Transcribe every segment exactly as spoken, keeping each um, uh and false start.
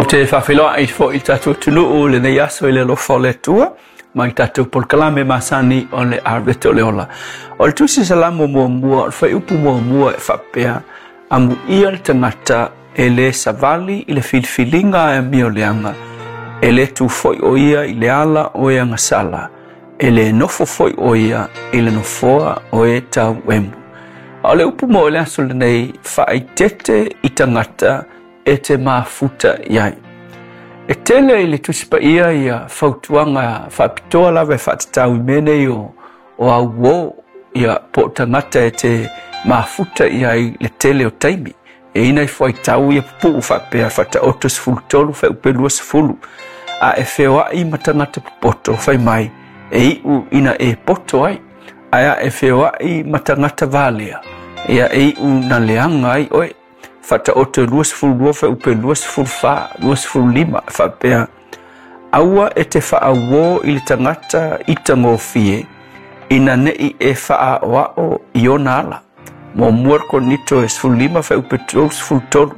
Ou te faafeiloai foi i tatou atunuu lenei aso i le alofa o le Atua ma i tatou polokalame masani o le Arete o le Ola. O le tusi Salamo muamua, o le fuaiupu muamua e faapea, amuia le tagata e le savali i le filifiliga e amioleaga, e le tu foi o ia i le ala o e agasala, e le nofo foi o ia i le nofoa o e tauemu. A o le upu mo le aso lenei, faaeteete i tagata e te mafuta i ai. E tele i le Tusi Paia ia fautuaga faapitoa lava e faatatau i mea nei o, o auō, ia po o tagata e te mafuta i ai le tele o taimi. E ina i fuaitau ia pupuu faapea Faataoto sefulu tolu fuaiupu luasefulu. A e feoai ma tagata popoto fai mai, e iu ina e poto ai. Ae a e feoai ma tagata valea, ia e iu na leaga ai oe. Faataoto luasefulu lua fuaiupu luasefulu fa, luasefulu lima faapea, aua e te faauō i le tagata i tagofie, ina nei e faaoao i ona ala. Muamua Korinito e sefulu lima fuaiupu tolusefulu tolu.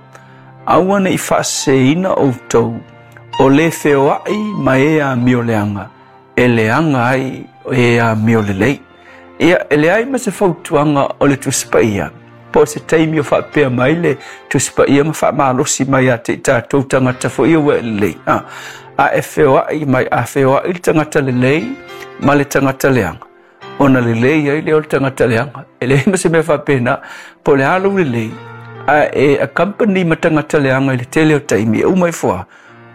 Aua ne i faaseseina outou, o le feoai ma e amioleaga, e leaga ai e amiolelei. Ia, e leai ma se fautuaga o le Tusi Paia, po o se taimi o faapea mai le Tusi Paia ma faamalosi mai ia te i tatou tagata foi ia ua e lelei. A, a e feoai mai, a feoai le tagata lelei ma le tagata leaga, ona lelei ai lea o le tagata leaga. E leai ma se mea faapena, po o le a lou lelei, a e accompany ma tagata leaga i le tele o taimi, e uma ifo lava,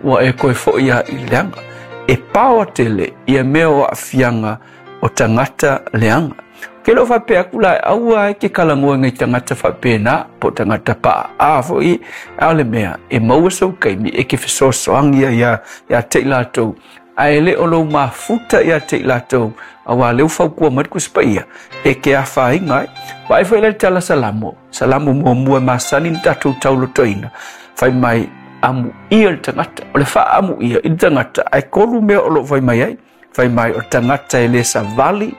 ua e toe foi lava i le leaga. E paoa tele ia mea o aafiaga o tagata leaga. Ke le o faapea atu la, aua ai ke talanoa i tagata faapena, po o tagata paaa foi, a o le mea, e maua sou taimi e ke fesoasoani ai ia, ia te i latou, ae le o lou mafuta ia te i latou, auā lea ua fautua mai le Tusi Paia, e ke afaina ai. Vaai foi la i le tala Salamo, Salamo muamua e masani na tatou taulotoina, fai mai, amuia le tagata, o le faaamuia i le tagata, ae tolu mea o loo fai mai ai. Fai mai o le tagata e le savali,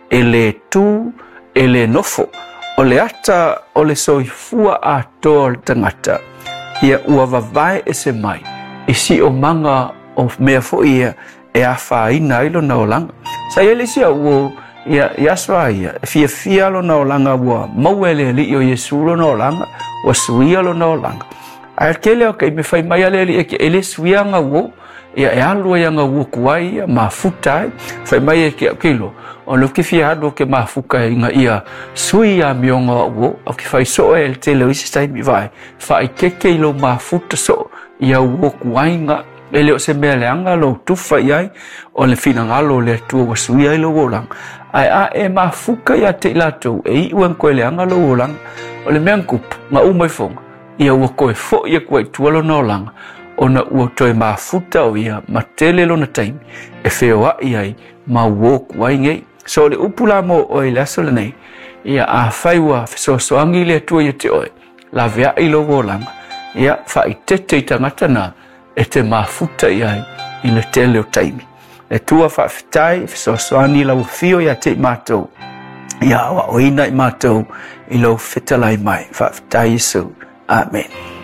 e le tu, e le nofo. O le ata o le soifua atoa o le tagata, ia ua vavae ese mai i siomaga o mea foi ia e afaina ai lona olaga. Sa i ai le isi auō, ia, i aso a ia, e fiafia lona olaga ua maua e le Alii o Iesu lona olaga, ua suia lona olaga. Ae tele o taimi fai mai a le Alii e ke e le suia aga uō, ia e alu ai aga uō tuai ia, mafuta ai. Fai mai e ke au kilo, o le ke fia alu o ke mafuka ina ia sui amioga o au uō, au ke fai soo e le tele o isi taimi vaai, faaeteete i lou mafuta soo i au uō tuai ga. E le o se mea leaga lou tufa i ai, o le finagalo o le Atua ua suia ai lou olaga. Ae a e mafuka ia te i latou, e iu e na toe leaga lou olaga. O le mea na tupu, na uma ifoga, ia ua toe foi atu ai i tua lona olaga, ona ua toe mafuta o ia ma tele lona taimi e feoai ai ma uō tuai nei. So o le upu la mo oe i le aso lenei, ia afai ua fesoasoani le Atua ia te oe, laveai lou olaga, ia faaeteete i tagata na e te mafuta i ai i le tele o taimi. Le Atua faafetai, fesoasoani lau afio ia te i matou, ia aoaoina i matou i lou fetalai mai. Faafetai Iesu. Amen.